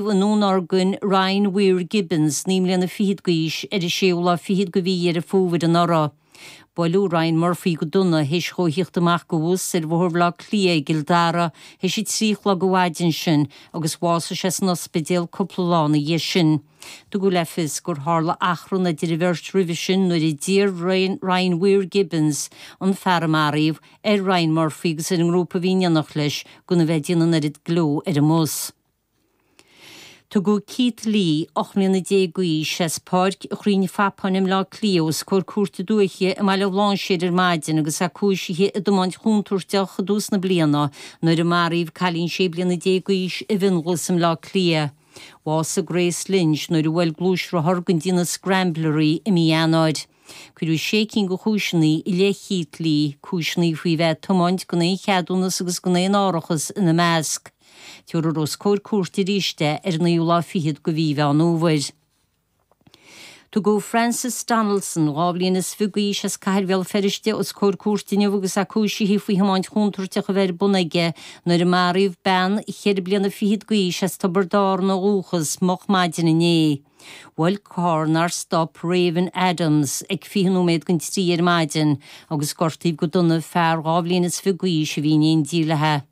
I nDún Urmhain, Ryan Weir Gibbons, 9 mbliana fichead d'aois, ar an séú lá fichead de mhí Dheireadh Fómhair anuraidh. Buaileadh Ryan Murphy go dona théis dhó a thíocht amach de bhus ar Bhóthar Bhaile Átha Cliath i gCill Dara théis a 3 a chlog an mhaidin sin agus bhásaigh sé san ospidéal cúpla lá ina dhiaidh sin. Tugadh le fios gur tharla achrann idir an bheirt roimhe sin nuair a d'iarr Ryan Weir Gibbons, an fear a maraíodh, ar Ryan Murphy agus ar an ngrúpa a bhí in éineacht leis gan a bheith ag déanamh an oiread gleo ar an mbus. Tugadh Keith Lee, 18 mbliana d'aois, as Páirc Chrainn Phapáin i mBleá Cliath os comhair Cúirte Dúiche i mBaile Bhlainséir ar maidin agus é cúisithe i dtiomáint chontúirteach i dtús na bliana nuair a maraíodh cailín 16 bliana d'aois i bhFionnghlas i mBleá Cliath. Bhásaigh Grace Lynch nuair a bhuail gluaisrothar den déanamh Scrambler í i mí Eanáir. Cuireadh sé cinn de chúiseanna i leith Keith Lee, cúiseanna faoi bheith ag tiomáint gan aon cheadúnas agus gan aon árachas ina measc. Tabharfar os comhair cúirte arís é ar an naoú lá fichead de mhí Mheán Fhómhair. Tugadh Francis Donaldson, 22 bhliain is d'aois as Cathair Bhéal Feirste os comhair cúirte inniu agus é cúisithe faoi thiomáint chontúirteach a bheith ar bun aige nuair a maraíodh bean cheithre bliana fichead d'aois as Tiobraid Árann ó dhúchas moch maidin inné. Bhuail carr nár stop Raven Adams ag 20 nóiméad don trí ar maidin agus gortaíodh go dona fear 22 bhliain is fiche d'aois a bhí in éindí léi.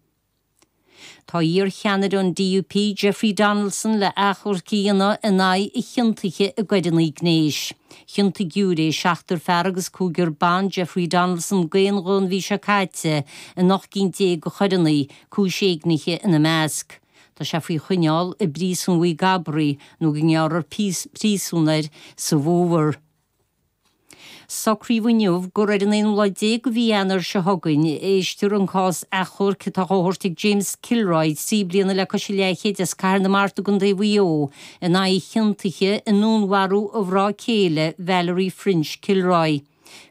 Tá iar-cheannaire an DUP, Jeffrey Donaldson, le achomharc a dhéanamh in aghaidh a chiontaithe i gcoireanna gnéis. Chiontaigh giúiré seachtar fear agus cúigear ban Jeffrey Donaldson d'aon ghuth an mhí seo caite in 18 gcinn de choireanna, cúis éignithe ina measc. Tá sé faoi choinneáil i bpríosún Mhaigh gCabraí nó go ngearrfar príosún air sa bhfómhar. Socraíodh inniu gur ar an aonú lá déag de mhí Eanáir seo chugainn a éistfear an cás achomhairc atá á thabhairt ag James Kilroy, 3 bliana le cois a leathchéid as Cathair na Mart i gContae Mhaigh Eo, in aghaidh a chiontaithe i ndúnmharú a mhná céile, Valerie French Kilroy.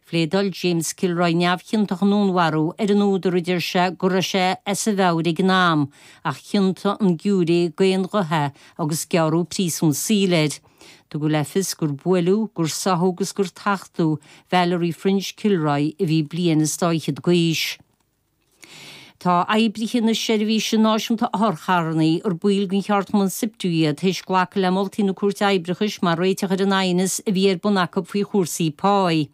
Phléadáil James Kilroy neamhchiontach i ndúnmharú ar an údar, a deir sé, go raibh sé as a mheabhair ag an am, ach chiontaigh an giúiré d'aon ghuth é agus gearradh príosún saoil air. Tugadh le fios gur buaileadh, gur sáthadh agus gur tachtadh Valerie French Kilroy a bhí bliain is dá fhichead d'aois. Tá oibrithe na Seirbhíse Náisiúnta Otharcharranna, ar baill den cheardchumann Siptu iad, théis glacadh le moltaí na Cúirte Oibreachais mar réiteach ar an aighneas a bhí ar bun acu faoi chúrsaí páí.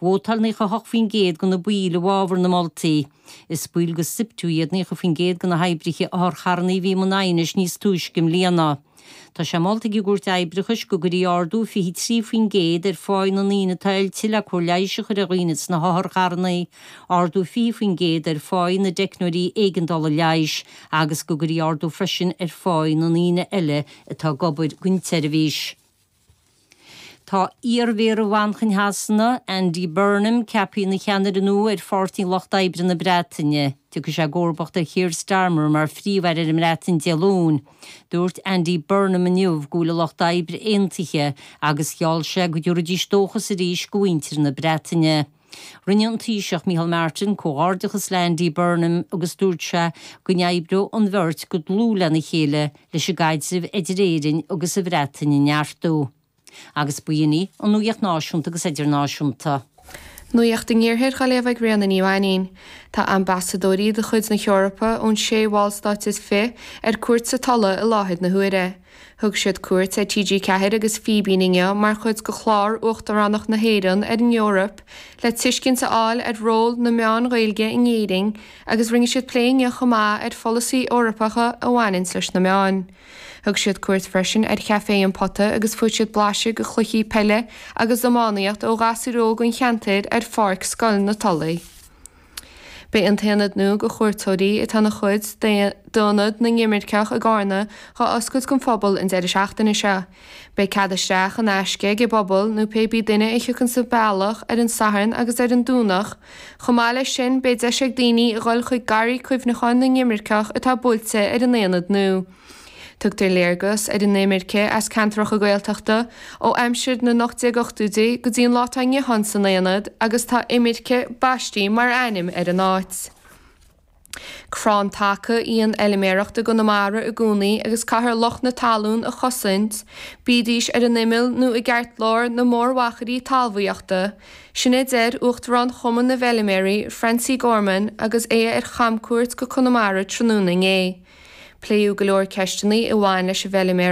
Vótáil 98% de na baill i bhfabhar na moltaí. Is baill de Siptu iad 90% de na hoibrithe otharcharranna a bhí i mbun aighnis níos túisce i mbliana. Tá sé molta ag an gCúirt Oibreachais go gcuirfí ardú 23% ar pháí na ndaoine atá oilte le cóir leighis a chur ar dhaoine sna hotharcharranna, ardú 20% ar pháí na dteicneoirí éigeandála leighis agus go gcuirfí ardú freisin ar pháí na ndaoine eile atá ag obair don tseirbhís. Tá iarMhéara Mhanchain Shasana, Andy Burnham, ceaptha ina cheannaire nua ar Pháirtí an Lucht Oibre na Breataine. Tiocfaidh sé i gcomharbacht ar Keir Starmer mar Phríomh-Aire ar an mBreatain Dé Luain. Dúirt Andy Burnham inniu go bhfuil an Lucht Oibre aontaithe agus gheall sé go dtabharfaidís dóchas arís do mhuintir na Breataine. Rinne an Taoiseach Micheál Martin comhghairdeachas le Andy Burnham agus dúirt sé go n-oibreodh an bheirt go dlúth lena chéile leis an gcaidreamh idir Éirinn agus an Bhreatain a neartú. Agus b'in í an nuacht náisiúnta agus idirnáisiúnta. Nuacht an Iarthair á léamh ag Ríona Ní Mhainín. Tá ambasadóirí de chuid na hEorpa ón sé bhallstáit is fi ar cuairt sa Tulaigh i láthair na huaire. Thug siad cuairt ar TG4 agus Fíbín inniu mar chuid de chlár Uachtaránacht na hÉireann ar an Eoraip le tuiscint a fháil ar ról na meán Ghaeilge in Éirinn agus rinne siad plé inniu chomh maith ar pholasaí Eorpacha a bhaineanns leis na meáin. Thug siad cuairt freisin ar Chaifé an Pota agus fuair siad blaiseadh de chluichí peile agus iománaíocht ó ghasúir óg an cheantair ar pháirc Scoil na Tulaí. Beidh an t-aonad nua do chuairteoirí, atá ina chuid d'Ionad na nImirceach i gCarna, dhá oscailt don phobal an deireadh seachtaine seo. Beidh cead isteach in aisce ag an bpobal nó pé bí duine a thiocfaidh an bealach ar an Satharn agus ar an Domhnach. Chomh maith leis sin, beidh deis ag daoine a dhul chuig Garraí Cuimhneacháin na nImirceach atá buailte ar an aonad nua. Tugtar léargas ar an imirce as ceantracha Gaeltachta ó aimsir na n-1880idí go dtí an lá atá inniu ann san aonad agus tá Imirce baistí mar ainm ar an áit. Crann taca í an fheilméaracht i gConamara i gcónaí agus caithfear lucht na talún a chosaint, bídís ar an imeall nó i gceartlár na mórmhachairí talmhaíochta, sin a deir Uachtarán Chumann na bhFeilméaraí, Francie Gorman agus é ar chamcuairt go Conamara tráthnóna inné. Pléadh go leor ceisteanna a bhain leis an bhfeiliméaracht.